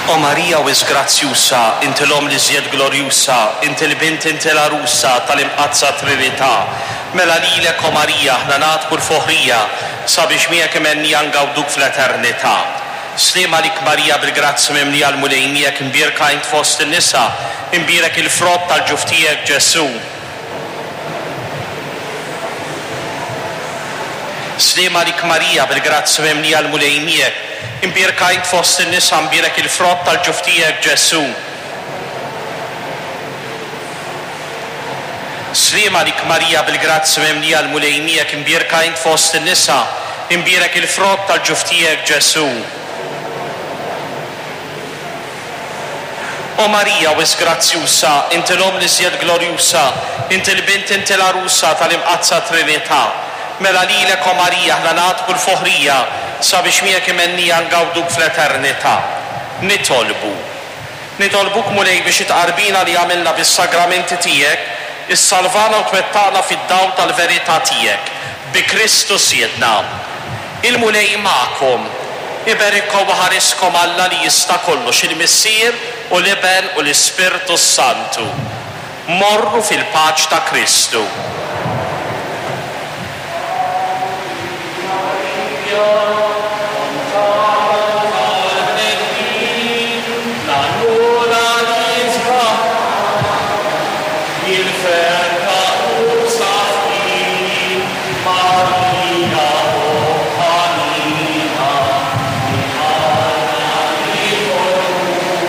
O Marija wisq grazzjusa, inti l-Omm l-iżjed glorjusa, inti l-Bint inti l-Għarusa tal-Imqaddsa Trinità. Mela lilek, o Marija, aħna nagħtku l-foħrija, sabiex miegħek imhennija ngawduk fl-eternità. Sliem għalik Marija bil-grazzja mimlija l-Mulej miegħek imbierka int fost in-nisa, imbierek il-frott tal-ġuf tiegħek Ġesù. Sliem għalik Marija bil-grazzja mimlija l-Mulej miegħek, imbierka int fost in-nisa mbierek il-frott tal-ġuf tiegħek Ġesù. Sliem għalik Marija bil-grazzja mimlija l-Mulej miegħek imbierka int fost in-nisa, imbierek il-frott tal-ġuf tiegħek Ġesù. O Marija wisq grazzjusa, inti l-Omm l-iżjed glorjusa, inti l-Bint inti l-Għarusa tal-Imqaddsa Trinità. Mela lilek, o Marija, aħna nagħtku l-foħrija, sabiex miegħek imhennija ngawduk fl-eternità. Nitolbu. Nitolbuk, Mulej, biex it-tqarbina li għamilna bis-sagramenti tiegħek, issalvana u twettaqna fid-dawl tal-verità tiegħek. Bi Kristu Sidna. Il-Mulej magħkom. Iberikkom u iħariskom Alla li jista' kollox, il-Missier u l-Iben u l-Ispirtu s-Santu. Morru fil-paċ ta' Kristu.